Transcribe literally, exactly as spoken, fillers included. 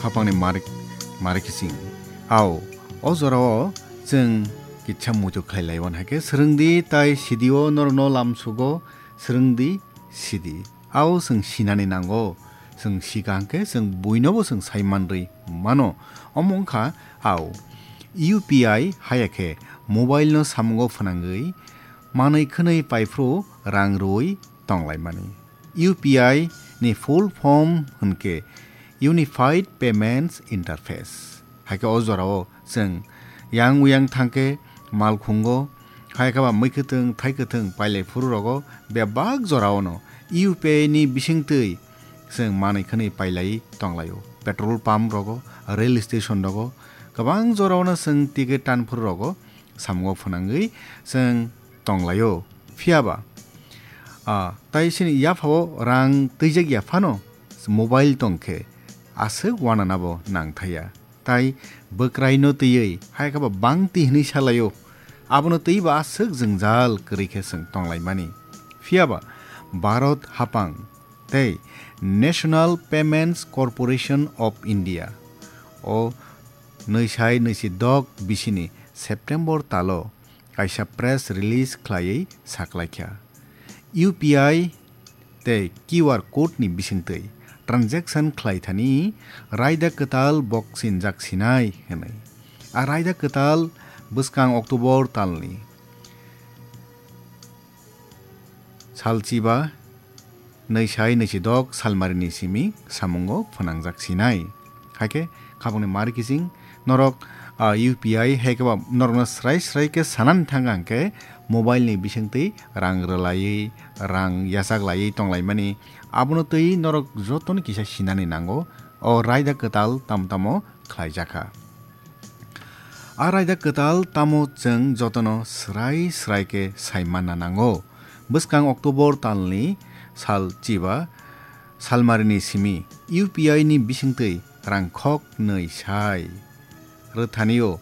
Khapangni marik, marik kising. Ao, o jorao chwng kitsa muitu khlai laiwan haikhe swrwngdi tai sidio norokno lamsugo swrwngdi sidi. Ao chwng sinani nango, chwng sika hwnkhe chwng buinobo chwng sai manrwi mano. Omo wngkha ao, U P I haya khe mobile no samungo phwnangwi manwi khwnwi paiphru rang rwui tonglaimani. U P I ni full form hwnkhe Unified Payments Interface. Haikhe o jorao chwng yang uyang thangkhe malkhungo, hai khe ba mui kwthwng thai kwthwng pailai phuru rogo bebak jorao no U P I ni bisingtwi chwng manwi khwnwi pailai tonglaio. Petrol pump rogo, rail station rogo, kwbang jorao no chwng ticket tan phuru rogo samungo phwnangwi chwng tonglaio. Phiyaba, ah, tai chini yaphao rang twijak ya phano mobile tongkhe aswk wananabo nangthaya. Tai bwkraino twiwi hai khe ba bangti hwnwi salaio. Abono twibo aswk jwngjal kwrwi khe chwng tonglaimani. Phiyaba Bharat hapang tei National Payments Corporation of India o nwi sai nwi si dok bisini September talo kaisa press release khlaiwi saklaikha, U P I tei Q R code ni bisingtwi transaction khlaithani raida kwtal boksinjak sinai hwnwi. A raida kwtal bwskang October talni salchiba nwi sai nwi si dok salmarini simi samungo phwnangjak sinai. Haikhe khapangni mari kiching norok, ah, U P I hai khe ba norokno srai srai khe sanani thang hwnkhe mobile ni bisingtwi rang rwlaiwi, rang yachak laiwi tonglaimani. Abono twi norok jotono kisa sinani nango. O raida kwtal tamo tamo khlaijakha. A raida kwtal tamo chwng jotono srai srai khe sai manna nango. Bwskang October talni sal chiba salmarini simi U P I ni bisingtwi rang khok nwi sai rwthanio